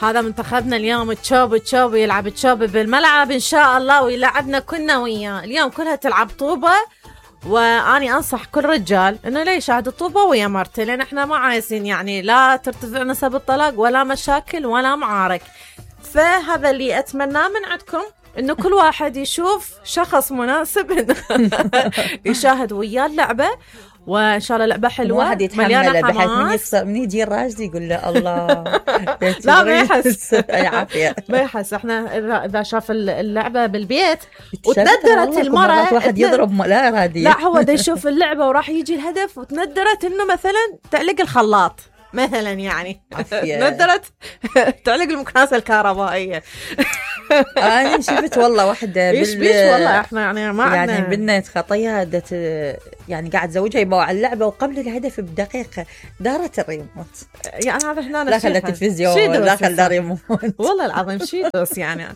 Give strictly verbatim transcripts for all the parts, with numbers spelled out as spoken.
هذا منتخبنا اليوم تشوب تشوب يلعب تشوب بالملعب إن شاء الله ويلعبنا كنا وياه. اليوم كلها تلعب طوبة، وأني أنصح كل رجال إنه لا يشاهد الطوبة ويا مرته، لأن إحنا ما عايزين يعني لا ترتفع نسب الطلاق ولا مشاكل ولا معارك. فهذا اللي أتمناه من عندكم، إنه كل واحد يشوف شخص مناسب إنه يشاهد وياه اللعبة، وإن شاء الله لعبة حلوة واحد يتحمل بحيث من يفصل من يجي الراجل يقول له الله لا ما يحس عافية ما يحس. احنا إذا شاف اللعبة بالبيت وتندرت المرة واحد يضرب لا إراديا، لا هو دا يشوف اللعبة وراح يجي الهدف وتندرت إنه مثلا تعلق الخلاط مثلا، يعني ندرت تعلق المكنسة الكهربائية. أنا شفت والله واحدة بال... بيش والله إحنا يعني ما عندنا يعني بنت خطيها دت يعني قاعد زوجها يبوا على اللعبة وقبل الهدف بدقيقة دارت الريموت، يعني هذا إحنا لا خلت التلفزيون لا خلت الريموت والله العظيم شي دوس يعني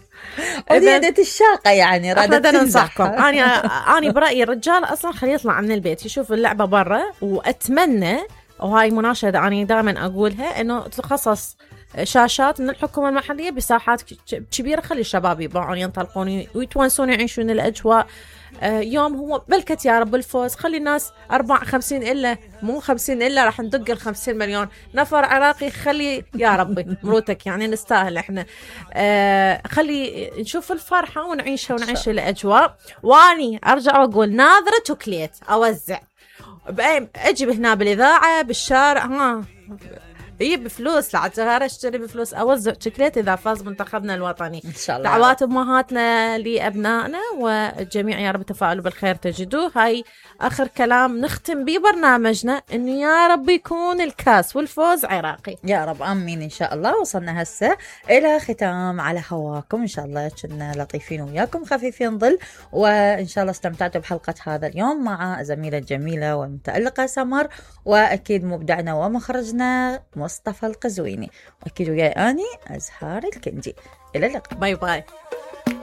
وزيادة الشاقة يعني رادت تنصحكم. أنا أنا برأيي الرجال أصلا خليه يطلع من البيت يشوف اللعبة برا، وأتمنى وهاي مناشدة أنا دائما أقولها إنه تخصص شاشات من الحكومة المحلية بساحات كبيرة، خلي الشباب يباعون ينطلقون ويتونسون يعيشون الأجواء. يوم هو بلكت يا رب الفوز، خلي الناس أربع خمسين إلا مو خمسين إلا راح ندق الخمسين مليون نفر عراقي، خلي يا ربي مروتك يعني نستاهل إحنا. آه خلي نشوف الفرحة ونعيشها ونعيش الأجواء. واني أرجع وأقول ناظرة شوكليت أوزع بأي أجيب هنا بالإذاعة بالشارع، ها هي بفلوس لعتها اشتري بفلوس اوزع شوكليت اذا فاز منتخبنا الوطني ان شاء الله. دعوات امهاتنا لابنائنا والجميع يا رب تفاعلوا بالخير تجدوه. هاي اخر كلام نختم به برنامجنا، انه يا رب يكون الكاس والفوز عراقي يا رب امين ان شاء الله. وصلنا هسه الى ختام على هواكم، ان شاء الله كنا لطيفين وياكم خفيفين ظل، وان شاء الله استمتعتوا بحلقه هذا اليوم مع زميله الجميله والمتالقه سمر، واكيد مبدعنا ومخرجنا مصطفى القزويني، واكيد وياي اني ازهار الكندي. الى اللقاء، باي باي.